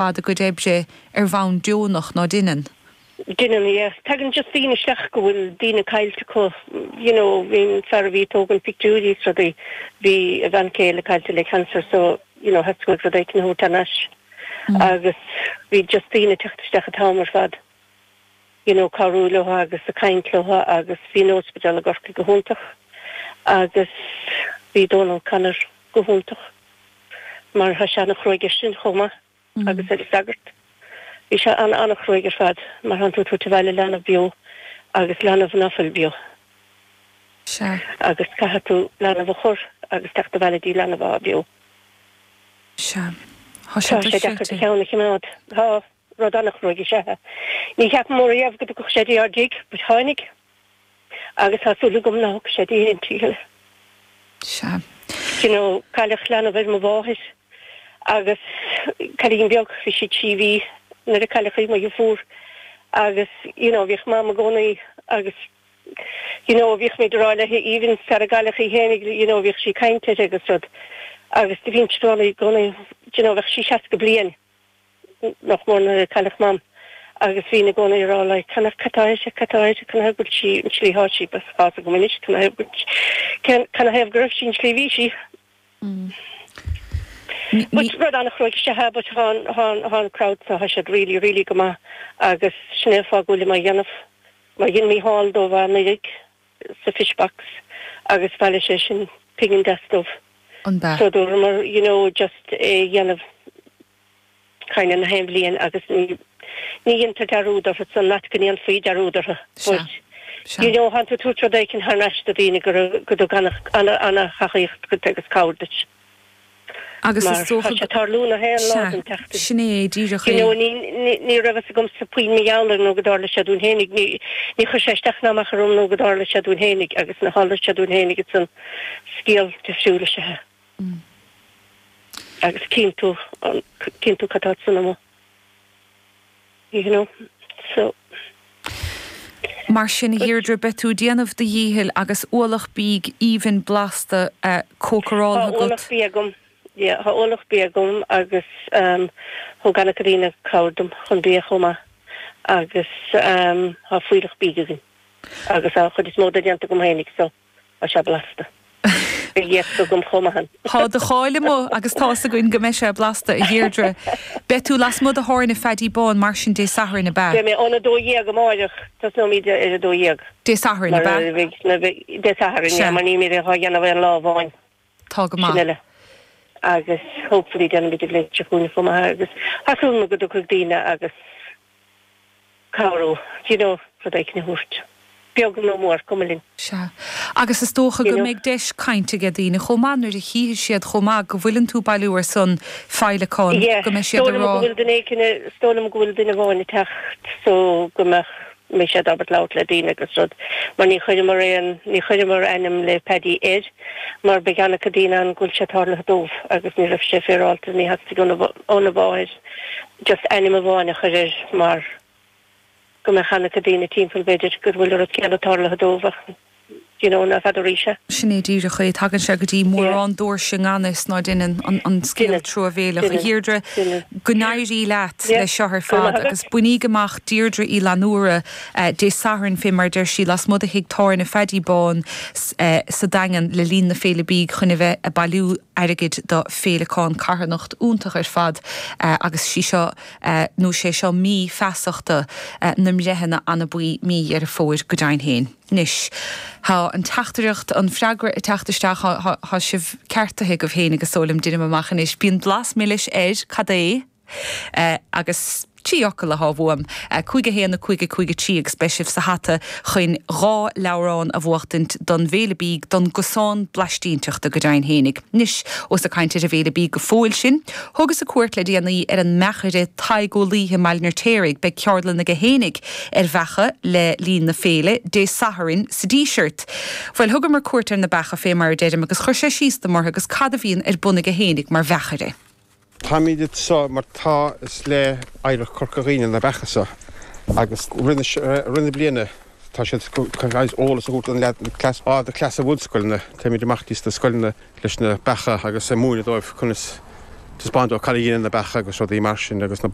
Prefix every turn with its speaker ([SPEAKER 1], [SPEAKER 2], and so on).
[SPEAKER 1] Fad a gcuid oibre ar bhonn deonach, ná deineann?
[SPEAKER 2] Deineann, yeah. Tagann just daoine isteach go bhfuil daoine caillte acu, you know, bhí an fear a bhí ag tógaint pictiúirí is rudaí, bhí a bhean céile caillte le cancer so, you know, theastaigh uaidh rud éicint a thabhairt thar n-ais agus bhí just daoine ag teacht isteach an t-am ar fad, you know, cabhrú leo agus ag caint leo agus bhí an ospidéal i gCorcaigh go hiontach agus bhí Dónal Connor go hiontach. Mar tá sé ana-chruaidh air sin chomh maith agus ar an sagart. Bhí sé ana-ana-chruaidh ar fad mar thánn tú ag tabhairt abhaile leanbh beo agus leanbh ná fuil beo.
[SPEAKER 1] Sea.
[SPEAKER 2] Agus caithfidh tú leanbh a chur agus teacht abhaile dtí leanbh athá beo.
[SPEAKER 1] Sea. Tá sé
[SPEAKER 2] Tá sé deacair do cheann a chimeád. Tá. Rud ana-chruaidh is ea é. Ní cheapamar riamh go dtiocfadh sé dtí ár dtigh but tháinig. Agus tá súil agam ná thiocfaidh sé dtí aon tigh eile.
[SPEAKER 1] Sea.
[SPEAKER 2] You know, cailleadh leanbh ar mo mháthair agus cailín beag, bhí sí 3 mhí nuair a cailleadh í, mo dheirfiúr. Agus, you know, bhíodh Mam i gcónaí agus, you know, bhíodh muid ag rá léi even sara gcailleadh í fhéinig, you know, bhíodh sí ag caint uirthi agus rud. Agus do bhínnse ag rá léi i gcónaí, you know, bheadh sí 60 bliain. nach mór nuair a cailleadh Mam agus bhínn i gcónaí ag rá like cad cad tá uirthi, cad tá uirthi, canathaobh go bhfuil sí an tslí thá sí, but tá's agam anois canathaobh go bhfuil, canathaobh go raibh sí an tslí bhí sí. But rud an-chruaidh is ea é but thá an, thá an, thá an crowd so thá siad really, really go maith agus sin é an fáth go bhfuilim á dhéanamh mar dhein Mícheál dóibh anuraidh sa fish box agus bhailigh sé sin pingin deas dóibh.
[SPEAKER 1] An b'ea?
[SPEAKER 2] So dúramar you know just é a dhéanamh kind of na haon bhliain agus ní ní dhéantar dearúd orthu san not go ndéanfaí dearúd orthu
[SPEAKER 1] Sea.
[SPEAKER 2] but
[SPEAKER 1] Sea.
[SPEAKER 2] you know thánn tú ag tabhairt rud éicint thar n-ais do dhaoine go raibh go dtug ana ana ana thacaíocht duit agus cabhair duit.
[SPEAKER 1] Agus
[SPEAKER 2] Mar
[SPEAKER 1] is dócha
[SPEAKER 2] tá sé ag tarlú na haon lá
[SPEAKER 1] Sea,
[SPEAKER 2] den tseachtain.
[SPEAKER 1] sin é díreach
[SPEAKER 2] You
[SPEAKER 1] é.
[SPEAKER 2] know, ní, ní, ní raibh fhios agamsa puinn mar gheall air nó go dtarla sé dúinn fhéinig. Ní, ní chuir sé isteach ná amach orm nó go dtarla sé dúinn fhéinig agus nuair a tharla sé dúinn fhéinig ansan scéal difriúil is ea é. Agus cíonn tú, cíonn tú cad tá san amuigh. You know, so.
[SPEAKER 1] Mar sin, a Dheirdre, beidh tú ag déanamh do dhíchill agus ualach bídh aoibhinn blasta cócaráltha
[SPEAKER 2] agat. Tá ualach bídh agam, yeah, tá ualach bídh agam agus thug an-chuid daoine cabhair dom chun bia chomh maith agus tá fuílleach bídh againn agus tá an chuid is mó de déanta agam fhéinig so. Tá sé blasta. Beidh iasc agam chomh maith.
[SPEAKER 1] Tá do cháil amuigh agus tá's againn go mbeidh sé blasta, a Dheirdre. Beidh tú lasmuigh de thábhairne Pheaidí Bán mar sin Dé Sathairn, ab ea?
[SPEAKER 2] Beidh mé óna 12 amáireach, tosnóimid ar a 12.
[SPEAKER 1] Dé Sathairn, ab ea?
[SPEAKER 2] Dé Sathairn, yeah, mar nílimid á dhéanamh aon lá amháin.
[SPEAKER 1] Tá go maith.
[SPEAKER 2] Sin eile. Agus hopefully déanfaimid an bhliain seo chugainn chomh maith agus tá súil agam go dtiocfaidh daoine agus cabhrú, do you know, rud éicint a thabhairt, beag nó mór, cuma linn.
[SPEAKER 1] Sea. Agus is dócha
[SPEAKER 2] You
[SPEAKER 1] go
[SPEAKER 2] know.
[SPEAKER 1] mbeidh deis cainte aige daoine chomh maith nuair a chífidh siad chomh maith go bhfuileann tú ag bailiú ar son féileacán,
[SPEAKER 2] Yeah,
[SPEAKER 1] go mbeidh siad
[SPEAKER 2] is
[SPEAKER 1] ag
[SPEAKER 2] dóigh liom
[SPEAKER 1] rá.
[SPEAKER 2] go bhfuil duine éicint, is dóigh liom go bhfuil duine amháin ag teacht so go mbeadh, mbeidh siad ábalta labhairt le daoine agus rud, mar ní chuireamar aon, ní chuireamar ainm le Paddy air mar beidh an-chuid daoine ann go bhfuil sé tarlaithe dóibh agus ní raibh sé féaráilte, ní theastaigh óna, óna mháthair. just ainm amháin a chur air mar go mbeadh an-chuid daoine timpeall b'fhéidir go bhfuil an rud céanna tarlaithe dóibh ach you know ná feadaraís é.
[SPEAKER 1] Sin é díreach é. Tagann sé go dtí mórán doirse i ngan fhios ná deineann an scéal truamhéileach. A Dheirdre, go n-éirí leat le seo ar fad agus bainíg amach Deirdre Uí Fhlannúra Dé Sathairn fé mar a deir sí lasmuigh de thigh tábhairne Pheaidí Bán sa Daingean le linn na Féile Bídh chun a bheith ag bailiú airgid do Féileacán carthanacht iontach ar fad agus sí seo nó sé seo mí feasachta na mbreitheanna anabaí mí Dheireadh Fómhair go deimhin féin. Anois tá an teachtaireacht, an freagra ag teacht isteach, tá sibh ceartaithe agaibh féin agus is dóigh liom, deinim amach anois, bíonn blas milis air, cad é? Agus 3 fhocal athá uaim, 5 1 5 5 3 agus beidh sibh sa hata chuin 2 leabhrán a bhuachtaint don bhFéile Bídh, don gcosán blaistínteachta go deimhin fhéinig. Anois, ós ag caint ar an bhFéile Bídh go fóill sinn, thugas-sa cuairt le déanaí ar an mbeachaire Tadhg Ó Laoithe i mBaile an Fheirtéaraigh. Beidh ceardlann aige fhéinig ar bheacha le linn na féile, Dé Sathairn sa Díseart. Bhuel, thugamar cuairt ar na beacha fé mar a deirim agus chuir sé síos dom orthu agus cad a bhíonn ar bun aige fhéinig mar bheachaire.
[SPEAKER 3] Táimid anseo mar tá is le Oidhreacht Chorca Dhuibhne na beacha seo agus rith na bliana tá siad chun eolas a thabhairt don leaid cleas á do chleas i bhunscoileanna. Téimid amach dtí sna scoileanna leis na beacha agus ag múineadh dóibh conas. Taispeáint dóibh cad a dheineann na beacha agus rudaí mar sin agus na.